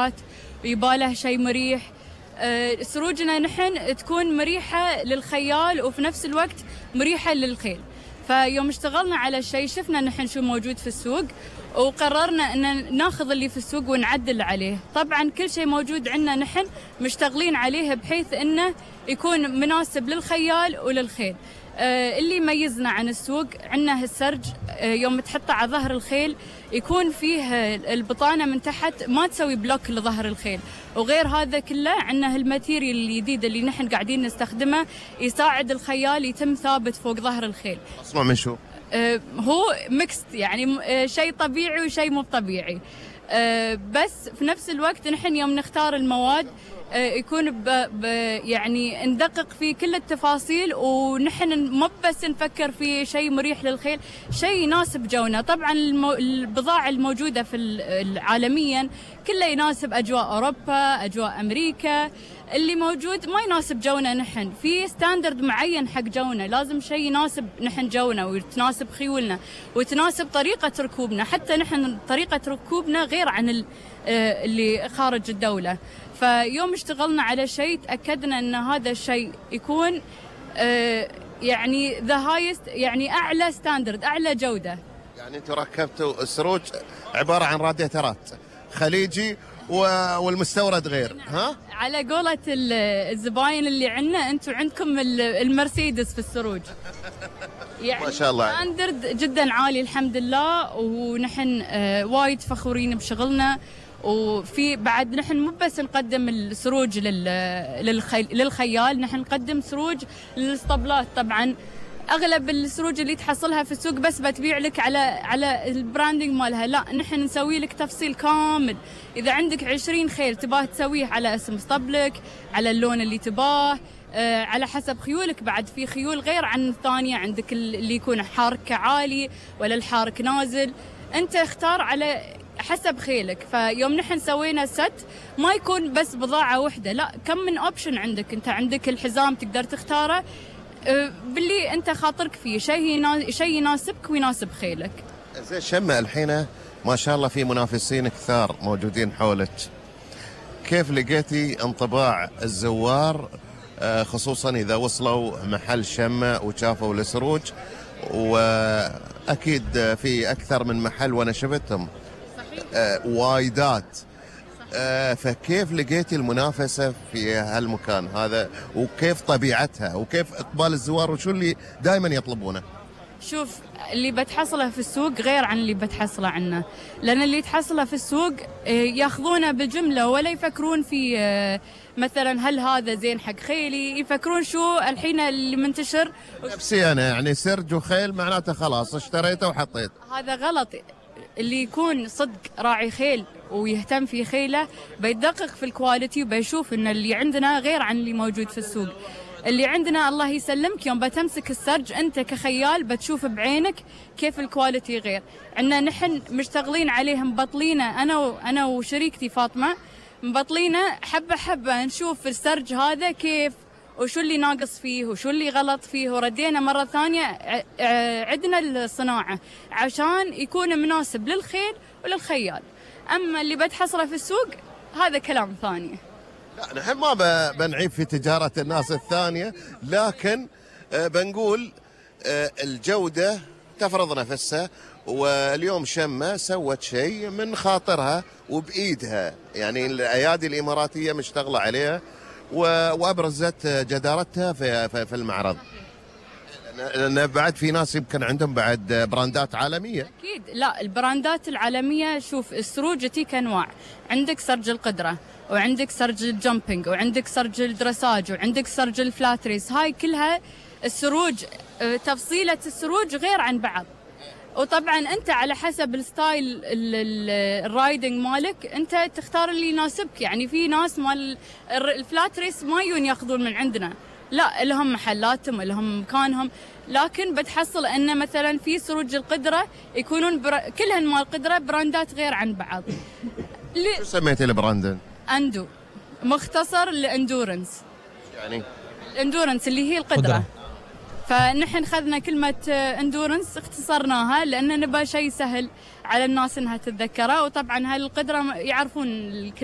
حركات ويباله شيء مريح. سروجنا نحن تكون مريحة للخيال وفي نفس الوقت مريحة للخيل. فيوم اشتغلنا على شيء شفنا نحن شو موجود في السوق وقررنا ان ناخذ اللي في السوق ونعدل عليه. طبعا كل شيء موجود عندنا نحن مشتغلين عليه بحيث انه يكون مناسب للخيال وللخيل. اللي يميزنا عن السوق عندنا هالسرج، يوم تحطه على ظهر الخيل يكون فيه البطانة من تحت ما تسوي بلوك لظهر الخيل. وغير هذا كله عندنا هالماتيريال الجديد اللي نحن قاعدين نستخدمه يساعد الخيال يتم ثابت فوق ظهر الخيل. مصنوع من شو؟ هو ميكست يعني شيء طبيعي وشيء مو طبيعي. بس في نفس الوقت نحن يوم نختار المواد يكون يعني ندقق في كل التفاصيل، ونحن مو بس نفكر في شيء مريح للخيل، شيء يناسب جونا. طبعا البضاعة الموجودة في عالميا كله يناسب أجواء أوروبا، أجواء أمريكا. اللي موجود ما يناسب جونا نحن، في ستاندرد معين حق جونا، لازم شيء يناسب نحن جونا ويتناسب خيولنا وتناسب طريقة ركوبنا. حتى نحن طريقة ركوبنا غير عن اللي خارج الدولة. فيوم اشتغلنا على شيء تأكدنا أن هذا الشيء يكون يعني the highest، يعني أعلى ستاندرد، أعلى جودة. يعني أنتوا ركبتوا السروج عبارة عن راديترات خليجي والمستورد غير. ها؟ على قولة الزباين اللي عندنا، أنتوا عندكم المرسيدس في السروج. يعني ما شاء الله ستاندرد جدا عالي الحمد لله، ونحن وايد فخورين بشغلنا. وفي بعد نحن مو بس نقدم السروج للخيال، نحن نقدم سروج للاسطبلات. طبعا اغلب السروج اللي تحصلها في السوق بس بتبيع لك على البراندنج مالها، لا نحن نسوي لك تفصيل كامل. اذا عندك 20 خيل تباه تسويه على اسم اسطبلك، على اللون اللي تباه، على حسب خيولك. بعد في خيول غير عن الثانية، عندك اللي يكون حارك عالي ولا الحارك نازل، انت اختار على حسب خيلك. فيوم نحن سوينا ست ما يكون بس بضاعة واحدة، لا كم من اوبشن عندك. انت عندك الحزام تقدر تختاره باللي انت خاطرك فيه، شيء يناسبك ويناسب خيلك. زين شمة، الحين ما شاء الله في منافسين كثار موجودين حولك، كيف لقيتي انطباع الزوار خصوصا اذا وصلوا محل شمة وشافوا السروج؟ واكيد في اكثر من محل وانا شفتهم وايدات. فكيف لقيتي المنافسة في هالمكان هذا، وكيف طبيعتها، وكيف إقبال الزوار، وشو اللي دائما يطلبونه؟ شوف، اللي بتحصله في السوق غير عن اللي بتحصله عنا، لأن اللي تحصله في السوق ياخذونه بالجملة ولا يفكرون في مثلا هل هذا زين حق خيلي، يفكرون شو الحين اللي منتشر. نفسي أنا يعني سرج وخيل معناته خلاص اشتريته وحطيت. هذا غلط. اللي يكون صدق راعي خيل ويهتم في خيله بيدقق في الكواليتي وبيشوف ان اللي عندنا غير عن اللي موجود في السوق. اللي عندنا الله يسلمك يوم بتمسك السرج انت كخيال بتشوف بعينك كيف الكواليتي غير. عندنا نحن مشتغلين عليهم، مبطلينه انا وشريكتي فاطمه، مبطلينه حبه حبه نشوف السرج هذا كيف وشو اللي ناقص فيه وشو اللي غلط فيه، وردينا مرة ثانية عدنا الصناعة عشان يكون مناسب للخيل وللخيال. أما اللي بتحصله في السوق هذا كلام ثاني. لا نحن ما بنعيب في تجارة الناس الثانية، لكن بنقول الجودة تفرض نفسها. واليوم شمة سوت شيء من خاطرها وبإيدها، يعني الأيادي الإماراتية مشتغلة عليها وابرزت جدارتها في المعرض. لان بعد في ناس يمكن عندهم بعد براندات عالميه. اكيد. لا البراندات العالميه، شوف السروج تيك انواع، عندك سرج القدره، وعندك سرج الجمبينج، وعندك سرج الدرساج، وعندك سرج الفلاتريس. هاي كلها السروج تفصيله السروج غير عن بعض. وطبعا انت على حسب الستايل الرايدنج مالك انت تختار اللي يناسبك. يعني في ناس مال الفلات ريس ما يجون ياخذون من عندنا، لا لهم محلاتهم لهم مكانهم، لكن بتحصل ان مثلا في سروج القدره يكونون كلهن مال قدره براندات غير عن بعض. شو سميتي البراند؟ اندو، مختصر لاندورنس. يعني الاندورنس اللي هي القدره. فنحن خذنا كلمة اندورنس اختصرناها لأن نبغى شيء سهل على الناس انها تتذكره، وطبعا هالقدرة يعرفون الكلمة.